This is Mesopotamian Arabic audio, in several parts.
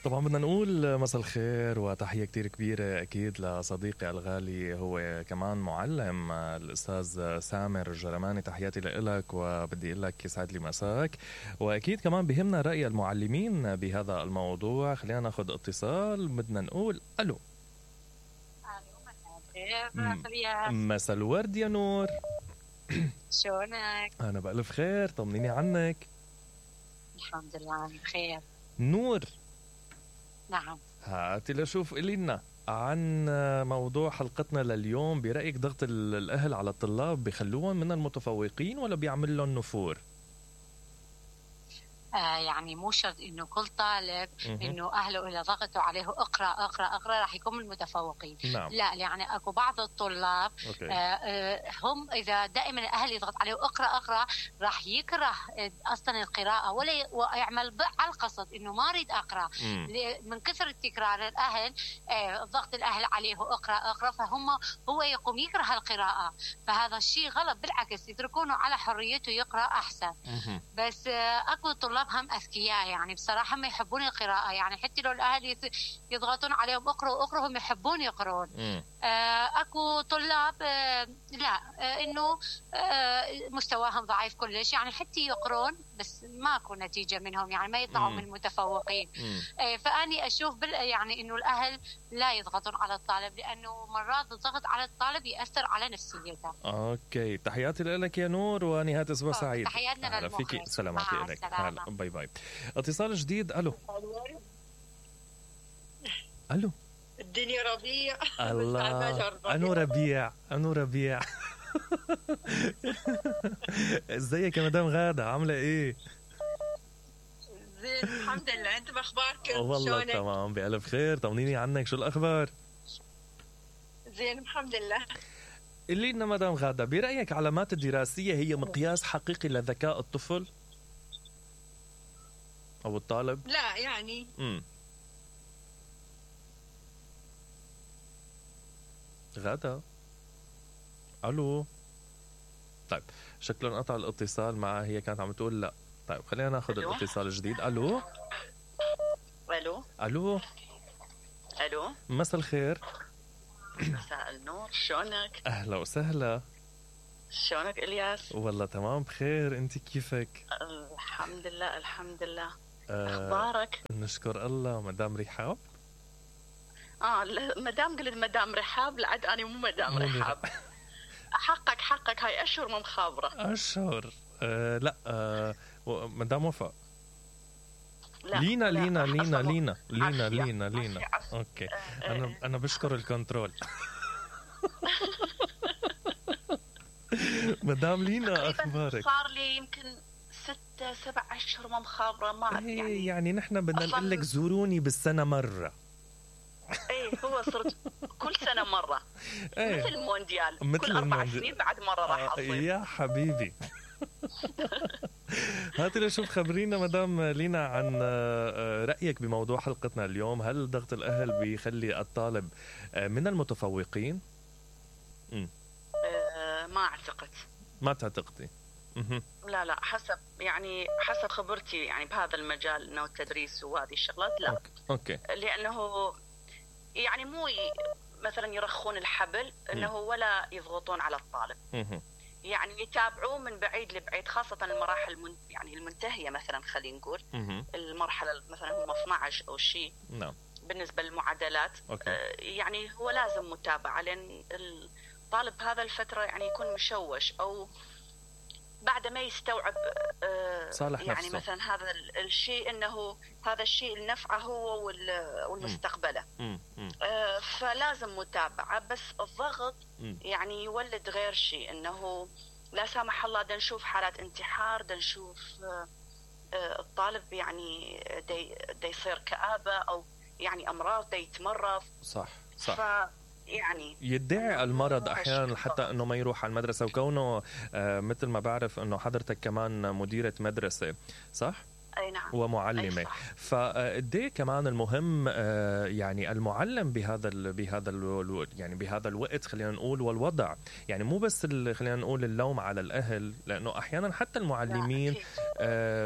طبعا بدنا نقول مساء الخير وتحية كتير كبيرة أكيد لصديقي الغالي، هو كمان معلم الأستاذ سامر الجرماني. تحياتي لإلك وبدي أقول لك يسعد لي مساك، وأكيد كمان بهمنا رأي المعلمين بهذا الموضوع. خلينا ناخد اتصال. بدنا نقول ألو. مساء الورد يا نور. شلونك؟ أنا بألف خير، طمنيني عنك. الحمد لله بخير. نور، نعم، هاتي لشوف إلينا عن موضوع حلقتنا لليوم. برأيك ضغط الأهل على الطلاب بيخلوهم من المتفوقين ولا بيعمل لهم نفور؟ يعني مو شرط انه كل طالب انه اهله اذا ضغطوا عليه اقرا اقرا اقرا راح يكون من المتفوقين. نعم. لا، يعني اكو بعض الطلاب هم اذا دائما الاهل يضغط عليه اقرا اقرا راح يكره اصلا القراءه ولا يعمل على القصد انه ما اريد اقرا. من كثر التكرار الاهل ضغط الاهل عليه اقرا اقرا هو يقوم يكره القراءه. فهذا الشيء غلط، بالعكس يتركونه على حريته يقرا احسن. بس اكو طلاب هم أذكياء يعني بصراحة ما يحبون القراءة، يعني حتى لو الأهل يضغطون عليهم اقرأوا هم يحبون يقرون. أكو طلاب لا، إنه مستواهم ضعيف كلش، يعني حتى يقرون بس ماكو نتيجة منهم، يعني ما يطلعوا من المتفوقين. فأني أشوف يعني إنه الأهل لا يضغطون على الطالب، لأنه مرات الضغط على الطالب يأثر على نفسيته. أوكي، تحياتي لك يا نور ونهاية أسبوع سعيد. تحياتنا للمخرج. سلامتي لك. هلا باي باي. اتصال جديد. ألو. ألو. الدنيا ربيع. الله، أنو ربيع. ازيك يا مدام غادة، عاملة ايه؟ زين الحمد لله، انت باخباركم؟ والله تمام بألف خير، طمنيني عنك، شو الأخبار؟ زين الحمد لله. قولي لنا مدام غادة، برأيك علامات الدراسية هي مقياس حقيقي لذكاء الطفل أو الطالب؟ لا يعني غادة، ألو. طيب شكله انقطع الاتصال معها، هي كانت عم تقول لا. طيب خلينا ناخذ الاتصال الجديد. ألو. ألو. ألو. ألو. مساء الخير. مساء النور، شلونك؟ أهلا وسهلا. شلونك إلياس؟ والله تمام بخير، أنت كيفك؟ الحمد لله الحمد لله. أخبارك؟ نشكر الله. مدام رحاب؟ مدام قلت مدام رحاب، لعد أنا مو مدام رحاب. حقك هاي أشهر مو مخابرة. أشهر لا مدام وفاء. لا لينا لا لينا لينا لينا عافية. لينا لينا عافية. اوكي. انا بشكر الكنترول. مدام لينا، اخبارك؟ صار لي يمكن 6-7 أشهر ما مخابرة، ما يعني نحن بدنا نقول لك زوروني بالسنة مرة. هو صرت كل سنة مرة. مثل المونديال، كل 4 سنين بعد مرة راح أصير. يا حبيبي. هاتي لشوف، خبرينا مدام لينا عن رأيك بموضوع حلقتنا اليوم. هل ضغط الأهل بيخلي الطالب من المتفوقين؟ ما أعتقد. ما تعتقدي؟ لا حسب خبرتي يعني بهذا المجال، انه التدريس وهذه الشغلات لا. أوكي. لانه يعني مو مثلا يرخون الحبل انه ولا يضغطون على الطالب. يعني يتابعوه من بعيد لبعيد، خاصة المراحل يعني المنتهية، مثلا خلينا نقول المرحلة مثلا هم 12 او شيء. نعم. بالنسبة للمعادلات يعني هو لازم متابعة، لان الطالب هذا الفترة يعني يكون مشوش او بعد ما يستوعب صالح يعني نفسه. مثلا هذا الشيء انه هذا الشيء لنفعه هو والمستقبله. فلازم متابعه، بس الضغط يعني يولد غير شيء، انه لا سامح الله دا نشوف حالات انتحار، دا نشوف الطالب يعني دا يصير كآبة او يعني امراض، دا يتمرض. صح. يعني يدعي المرض احيانا حتى انه ما يروح على المدرسه. وكونه مثل ما بعرف انه حضرتك كمان مديره مدرسه، صح؟ أي نعم. ومعلمة. فقديه كمان المهم يعني المعلم بهذا الوقت خلينا نقول والوضع، يعني مو بس خلينا نقول اللوم على الأهل، لأنه أحيانا حتى المعلمين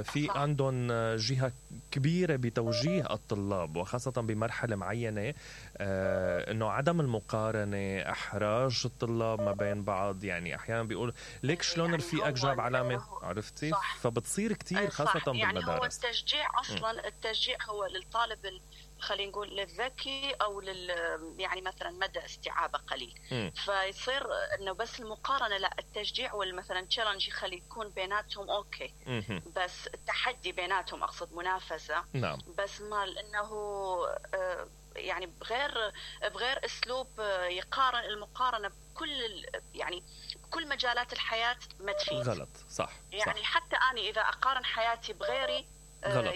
في عندهم جهة كبيرة بتوجيه الطلاب، وخاصة بمرحلة معينة، إنه عدم المقارنة، إحراج الطلاب ما بين بعض. يعني أحيانا بيقول ليك شلون رفيقك جاب علامة، عرفتي؟ فبتصير كتير خاصة بالمدارس. هو التشجيع أصلا التشجيع هو للطالب خلينا نقول للذكي أو يعني مثلا مدى استيعابه قليل. فيصير إنه بس المقارنة لا، التشجيع والمثلا تشالنج يخلي يكون بيناتهم أوكي. بس التحدي بيناتهم، أقصد منافسة. نعم. بس مال إنه يعني بغير أسلوب يقارن، المقارنة بكل يعني بكل مجالات الحياة ما تفيد. غلط. صح. يعني صح. حتى أنا إذا أقارن حياتي بغيري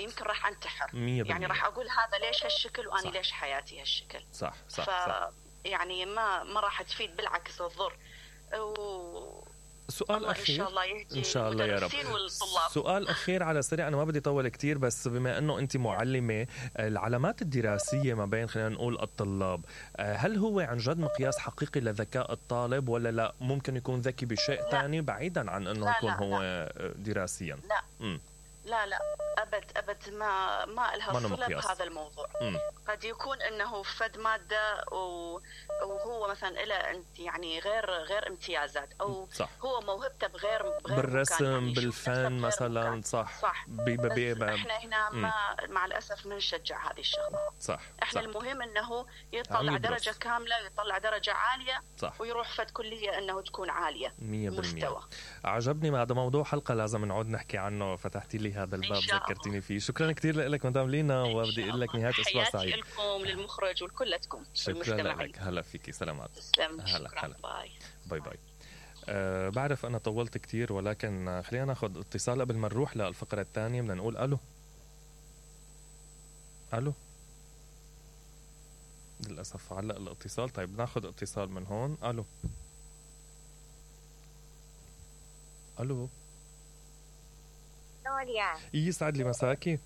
يمكن راح أنتحر. يعني راح أقول هذا ليش هالشكل وأنا ليش حياتي هالشكل. صح. صح. صح. يعني ما راح تفيد، بالعكس الضر. سؤال أخير إن شاء الله يهدي إن شاء الله يا رب. سؤال أخير على سريع، أنا ما بدي أطول كتير، بس بما أنه أنت معلمة، العلامات الدراسية ما بين خلينا نقول الطلاب، هل هو عن جد مقياس حقيقي لذكاء الطالب، ولا لا ممكن يكون ذكي بشيء ثاني بعيدا عن أنه يكون هو دراسيا؟ لا أبد ما لها صلة بهذا الموضوع. قد يكون أنه فد مادة وهو مثلا إلى يعني غير امتيازات، أو صح. هو موهبته بغير بالرسم يعني بالفن مثلا. صح. إحنا هنا مع الأسف ما نشجع هذه الشغلات. صح. إحنا المهم أنه يطلع درجة كاملة، يطلع درجة عالية. صح. ويروح فد كلية أنه تكون عالية 100%. مستوى. عجبني، هذا موضوع حلقة لازم نعود نحكي عنه، فتحتي لي هذا الباب، ذكرتيني فيه. شكرا كثير لك مدام لينا، وبدي اقول لك نهاية اسبوع سعيد. حياتي لكم، للمخرج ولكلكم. شكرا لك. هلا فيكي. سلامات. هلا. باي باي. بعرف انا طولت كثير، ولكن خلينا ناخذ اتصال قبل ما نروح للفقرة الثانية. بدنا نقول الو. للاسف علق الاتصال. طيب ناخذ اتصال من هون. الو. يسعد لي مساكي.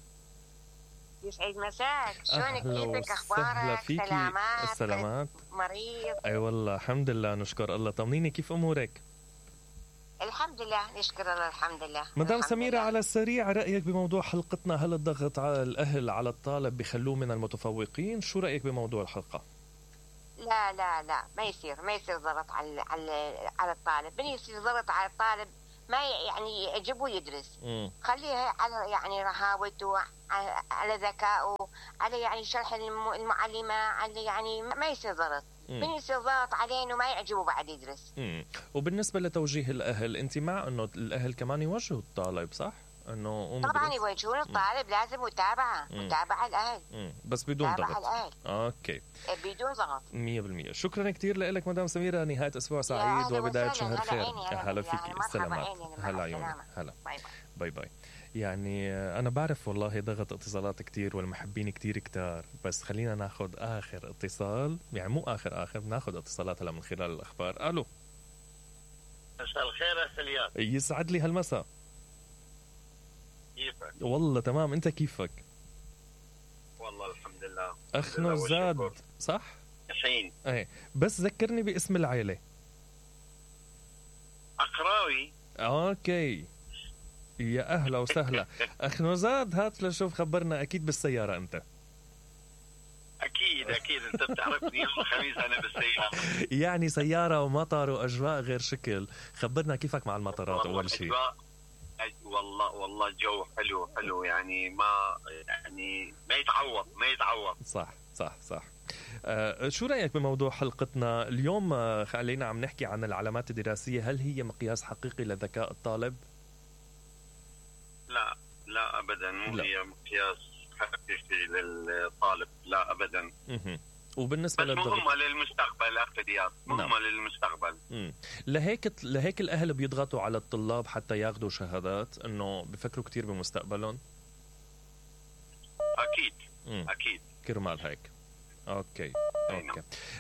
يسعد مساك. شلونك؟ كيفك؟ اخبارك؟ سلامات. مريض؟ اي والله الحمد لله نشكر الله. طمنيني كيف امورك؟ الحمد لله نشكر الله. الحمد لله. مدام سميرة، على السريع رأيك بموضوع حلقتنا؟ هل الضغط على الأهل على الطالب بخلوه من المتفوقين؟ شو رأيك بموضوع الحلقة؟ لا ما يصير ضغط على الطالب. من يصير ضغط على الطالب ما يعني يعجبه يدرس. خليه على يعني رهاوته، على ذكائه، على يعني شرح المعلمة، على يعني ما يصير ضغط. من يصير ضغط عليه انه ما يعجبه بعد يدرس. وبالنسبة لتوجيه الأهل، أنت مع أنه الأهل كمان يوجهوا الطالب، صح؟ انه طبعا يوجهون الطالب، لازم متابعه الاهل، بس بدون ضغط. اوكي، بدون ضغط 100%. شكرا كثير لك مدام سميرة، نهاية اسبوع سعيد وبداية شهر خير. هلا فيكي. سلامات. هلا عيوني. هلا. باي باي. يعني انا بعرف والله ضغط اتصالات كتير والمحبين كتير كتار، بس خلينا ناخذ اخر اتصال، يعني مو اخر ناخذ اتصالات هلا من خلال الاخبار. الو. مساء الخير يا سليان. يسعد لي هالمساء. كيفك؟ والله تمام، انت كيفك؟ والله الحمد لله. اخ نوزاد صح؟ ياسين. ايه، بس ذكرني باسم العيلة. أقراوي. اوكي، يا اهلا وسهلا. اخ نوزاد، هات لشوف، خبرنا، اكيد بالسيارة انت؟ اكيد انت بتعرفني، يوم الخميس انا بالسيارة. يعني سيارة ومطر واجواء غير شكل. خبرنا كيفك مع المطرات اول شيء. والله جو حلو يعني ما يتعوض. صح. شو رأيك بموضوع حلقتنا اليوم؟ خلينا عم نحكي عن العلامات الدراسية. هل هي مقياس حقيقي لذكاء الطالب؟ لا ابدا، مو هي مقياس حقيقي للطالب، لا ابدا. وبالنسبة مهمة للمستقبل أخذيات، مهمة للمستقبل. لهيك الأهل بيضغطوا على الطلاب حتى ياخدوا شهادات، إنه بفكروا كتير بمستقبلهم. أكيد كرمال هيك. أوكي.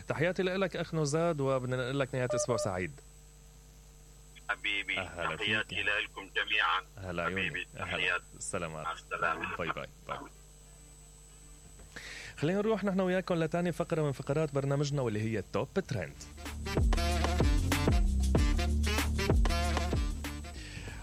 تحياتي لك أخ نوزاد، وبدنا نقول لك نهاية أسبوع سعيد. حبيبي تحياتي لكم جميعا. هلا حبيبي تحياتي. السلامات. مع السلامة. باي باي باي. خلينا نروح نحن وياكم لتاني فقرة من فقرات برنامجنا واللي هي توب ترند.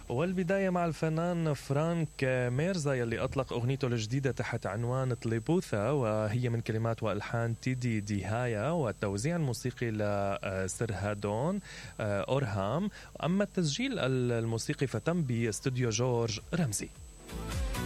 والبداية مع الفنان فرانك ميرزا يلي أطلق أغنيته الجديدة تحت عنوان طليبوثا، وهي من كلمات وألحان تيدي ديهايا والتوزيع الموسيقي لسرهادون أورهام. أما التسجيل الموسيقي فتم باستوديو جورج رمزي.